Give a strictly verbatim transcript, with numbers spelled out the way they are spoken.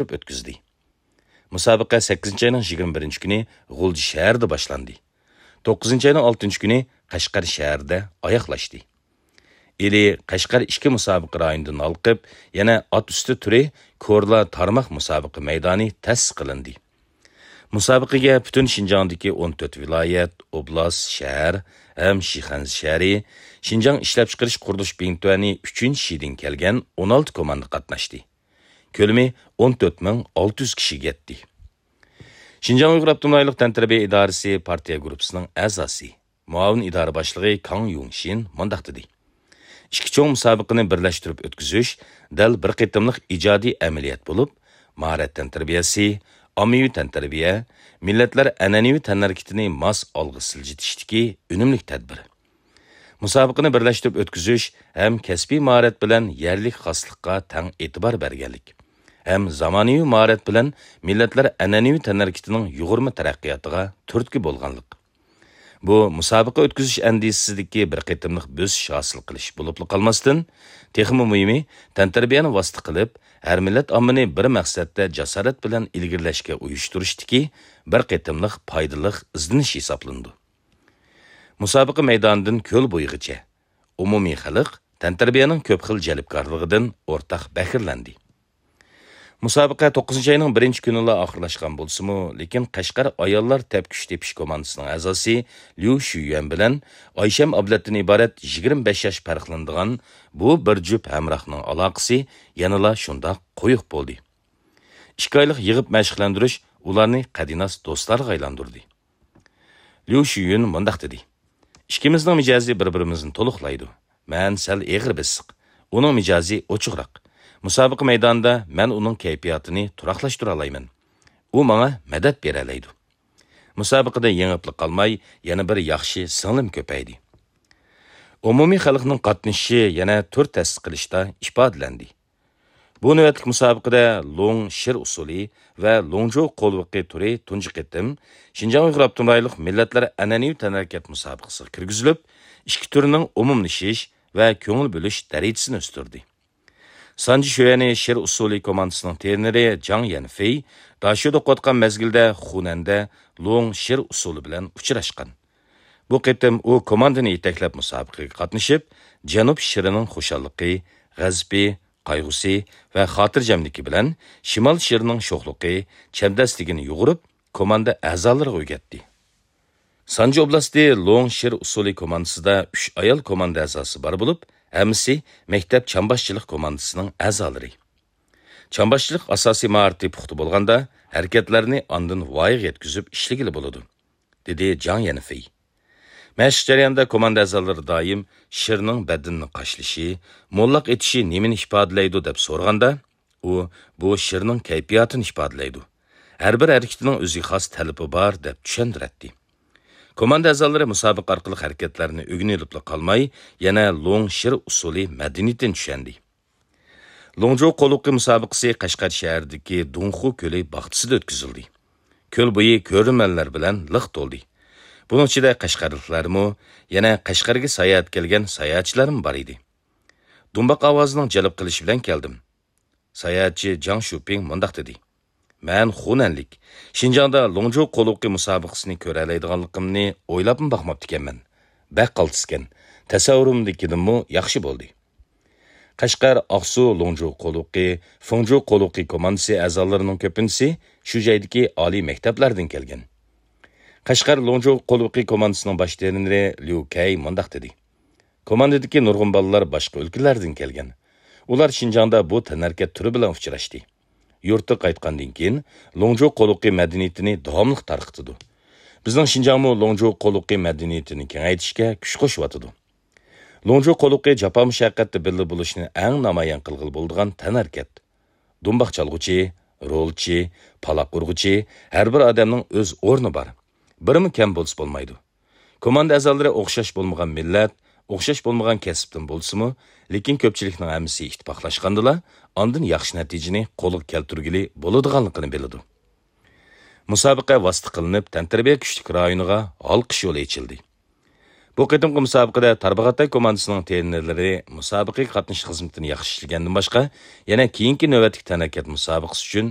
بىرلەشتۈرۈپ ئۆتكۈزدى. مۇسابىقە سەككىزىنچى ئاينىڭ يىگىرمە بىرىنچى كۈنى غۇلجا شەھىرىدە باشلاندى. توققۇزىنچى ئاينىڭ ئالتىنچى كۈنى قەشقەر شەھىرىدە ئاياغلاشتى. ئىلى قەشقەر ئىككى مۇسابىقە رايونىدىن ھالقىپ، يەنە ئات ئۈستى تۈرى كورلا تارماق مۇسابىقە مەيدانى تەسىس قىلىندى. مۇسابىقىگە پۈتۈن شىنجاڭدىكى ئون تۆت ۋىلايەت، ئوبلاست، شەھەر ھەم شىخەنزە شەھىرى، شىنجاڭ ئىشلەپچىقىرىش قۇرۇلۇش بىڭتۈەنى ئۈچىنچى شىدىن كەلگەن ئون ئالتە كوماندا قاتناشتى. كۆلىمى ئون تۆت مىڭ ئالتە يۈز كىشىگە يەتتى. شىنجاڭ ئۇيغۇر ئاپتونوم رايونلۇق تەنتەربىيە ئىدارىسى پارتىيە گۇرۇپپىسىنىڭ ئەزاسى، مۇئاۋىن ئىدارە باشلىقى كاڭ يۇڭشىن مۇنداق دېدى: ئىككى چوڭ مۇسابىقىنى بىرلەشتۈرۈپ ئۆتكۈزۈش دەل بىر قېتىملىق ئىجادىي ئەمەلىيەت بولۇپ، ماھارەت تەنتەربىيەسى، ئاممىۋى تەنتەربىيە، مىللەتلەر ئەنئەنىۋى تەنھەرىكىتىنى ماس ئالغا سىلجىتىشتىكى ئۈنۈملۈك تەدبىر. مۇسابىقىنى بىرلەشتۈرۈپ ئۆتكۈزۈش ھەم كەسپىي ماھارەت بىلەن يەرلىك خاسلىققا تەڭ ئېتىبار بەرگەنلىك ھەم زامانىۋى ماھارەت بىلەن مىللەتلەر ئەنئەنىۋى تەنھەرىكىتىنىڭ يۇغۇرما تەرەققىياتىغا تۈرتكە بولغانلىق. بۇ مۇسابىقە ئۆتكۈزۈش ئەندىزىسىدىكى بىر قېتىملىق بۆسۈش ھاسىل قىلىش بولۇپلا قالماستىن، تېخىمۇ مۇھىمى، تەنتەربىيەنى ۋاسىتە قىلىپ، ھەر مىللەت ئاممىنى بىر مەقسەتتە جاسارەت بىلەن ئىلگىرىلەشكە ئۇيۇشتۇرۇشتىكى بىر قېتىملىق پايدىلىق ئىزدىنىش ھېسابلىنىدۇ. مۇسابىقە مەيدانىدىن كۆل بويىغىچە ئومۇمىي خەلق تەنتەربىيەنىڭ كۆپ خىل جەلپكارلىقىدىن ئورتاق بەھرىلەندى. مۇسابىقە توققۇزىنچى ئاينىڭ بىرىنچى كۈنىلا ئاخىرلاشقان بولسىمۇ، لېكىن قەشقەر ئاياللار تەپكۈچ تېپىش كوماندىسىنىڭ ئەزاسى ليۇ شۈيۈەن بىلەن ئايشەم ئابلەتتىن ئىبارەت يىگىرمە بەش ياش پەرقلىنىدىغان بۇ بىر جۈپ ھەمراھنىڭ ئالاقىسى يەنىلا شۇنداق قويۇق بولدى. ئىككى ئايلىق يىغىپ مەشىقلەندۈرۈش ئۇلارنى قەدىناس دوستلارغا ئايلاندۇردى. ليۇ شۈيۈن مۇنداق دېدى: ئىككىمىزنىڭ مىجەزى بىر-بىرىمىزنى تولۇقلايدۇ. مەن سەل ئېغىر بېسىق، ئۇنىڭ مىجەزى ئوچۇقراق. مۇسابىقە مەيدانىدا مەن ئۇنىڭ كەيپىياتىنى تۇراقلاشتۇرالايمەن. ئۇ ماڭا مەدەت بېرەلەيدۇ. مۇسابىقىدە يېڭىپلا قالماي، يەنە بىر ياخشى سىڭلىم كۆپەيدى. ئومۇمىي خەلقنىڭ قاتنىشىشى يەنە تۈر تەسىس قىلىشتا ئىپادىلەندى. بۇ نۆۋەتلىك مۇسابىقىدە لوڭ شىر ئۇسسۇلى ۋە لوڭجۇ قولۋىقى تۈرى تۇنجى قېتىم شىنجاڭ ئۇيغۇر ئاپتونوم رايونلۇق مىللەتلەر ئەنئەنىۋى تەنھەرىكەت مۇسابىقىسىغا كىرگۈزۈلۈپ، ئىككى تۈرنىڭ ئومۇملىشىش ۋە كۆڭۈل بۆلۈش دەرىجىسىنى ئۆستۈردى. سانجى شۆيەنى شىر ئۇسسۇلى كوماندىسىنىڭ ترېنېرى جاڭ يەنفېي داشۆدە ئوقۇۋاتقان مەزگىلدە خۇنەندە لوڭ شىر ئۇسسۇلى بىلەن ئۇچراشقان. بۇ قېتىم ئۇ كوماندىنى يېتەكلەپ مۇسابىقىگە قاتنىشىپ، جەنۇب شىرىنىڭ خۇشاللىقى، غەزىپى، قايغۇسى ۋە خاتىرجەملىكى بىلەن شىمال شىرىنىڭ شوخلۇقى، چەبدەسلىكىنى يۇغۇرۇپ، كوماندا ئەزالىرىغا ئۆگەتتى. سانجى ئوبلاستى لوڭ شىر ئۇسسۇلى كوماندىسىدا ئۈچ ئايال كوماندا ئەزاسى بار بولۇپ، ھەممىسى مەكتەپ چامباشچىلىق كوماندىسىنىڭ ئەزالىرى. چامباشچىلىق ئاساسىي ماھارىتى پۇختا بولغاندا، ھەرىكەتلەرنى ئاندىن ۋايىغا يەتكۈزۈپ ئىشلىگىلى بولىدۇ، دېدى جاڭ يەنفېي. مەشىق جەريانىدا كوماندا ئەزالىرى دائىم شىرنىڭ بەدىنىنى قاشلىشى، موللاق ئېتىشى نېمىنى ئىپادىلەيدۇ دەپ سورىغاندا، ئۇ بۇ شىرنىڭ كەيپىياتىنى ئىپادىلەيدۇ. ھەر بىر ھەرىكىتىنىڭ ئۆزىگە خاس تەلىپى بار دەپ چۈشەندۈرەتتى. كوماندا ئەزالىرى مۇسابىقە ئارقىلىق ھەرىكەتلەرنى ئۆگىنىۋېلىپلا قالماي، يەنە لوڭ شىر ئۇسسۇلى مەدەنىيىتىنى چۈشەندى. لوڭجۇ قولۋىقى مۇسابىقىسى قەشقەر شەھىرىدىكى دۇڭخۇ كۆلى باغچىسىدا ئۆتكۈزۈلدى. كۆل بويى كۆرۈرمەنلەر بىلەن لىق تولدى. بۇنىڭ ئىچىدە قەشقەرلىكلەرمۇ، يەنە قەشقەرگە ساياھەتكە كەلگەن ساياھەتچىلەرمۇ بار ئىدى. دۇمباق ئاۋازىنىڭ جەلپ قىلىشى بىلەن كەلدىم. ساياھەتچى جاڭ شۇپىڭ مۇنداق دېدى: مەن خۇنەنلىك، شىنجاڭدا لوڭجۇ قولۋىقى مۇسابىقىسىنى كۆرەلەيدىغانلىقىمنى ئويلاپمۇ باقماپتىكەنمەن. بەك قالتىسكەن. تەسەۋۋۇرۇمدىكىدىنمۇ ياخشى بولدى. قەشقەر، ئاقسۇ، لوڭجۇ قولۋىقى، فېڭجۇ قولۋىقى كوماندىسى ئەزالىرىنىڭ كۆپىنچىسى شۇ جايدىكى ئالىي مەكتەپلەردىن كەلگەن. قەشقەر لوڭجۇ قولۋىقى كوماندىسىنىڭ باش ترېنېرى ليۇ كەي مۇنداق دېدى: كوماندىدىكى نۇرغۇن بالىلار باشقا ئۆلكىلەردىن كەلگەن. ئۇلار شىنجاڭدا بۇ تەنھەرىكەت تۈرى بىلەن ئۇچراشتى. يۇرتقا قايتقاندىن كېيىن، لوڭجۇ قولۋىقى مەدەنىيىتىنى داۋاملىق تارقىتىدۇ. بىزنىڭ شىنجاڭمۇ لوڭجۇ قولۋىقى مەدەنىيىتىنى كېڭەيتىشكە كۈچ قوشۇۋاتىدۇ. لوڭجۇ قولۋىقى جاپا-مۇشەققەتتە بىللە بولۇشنى ئەڭ نامايان قىلغىلى بولىدىغان تەنھەرىكەت. دۇمباق چالغۇچى، رولچى، پالاق ئۇرغۇچى، ھەر بىر ئادەمنىڭ ئۆز ئورنى بار. بىرىمۇ كەم بولسا بولمايدۇ. كوماندا ئەزالىرى ئوخشاش بولمىغان مىللەت، ئوخشاش بولمىغان كەسىپتىن بولسىمۇ، لېكىن كۆپچىلىكنىڭ ھەممىسى ئىتتىپاقلاشقاندىلا، ئاندىن ياخشى نەتىجىنى قولغا كەلتۈرگىلى بولىدىغانلىقىنى بىلىدۇ. مۇسابىقە ۋاسىتە قىلىنىپ، تەنتەربىيە كۈچلۈك رايونىغا ھالقىش يولى ئېچىلدى. بۇ قېتىمقى مۇسابىقىدە تارباغاتاي كوماندىسىنىڭ ترېنېرلىرى مۇسابىقىگە قاتنىشىش خىزمىتىنى ياخشى ئىشلىگەندىن باشقا، يەنە كېيىنكى نۆۋەتلىك تەنھەرىكەت مۇسابىقىسى ئۈچۈن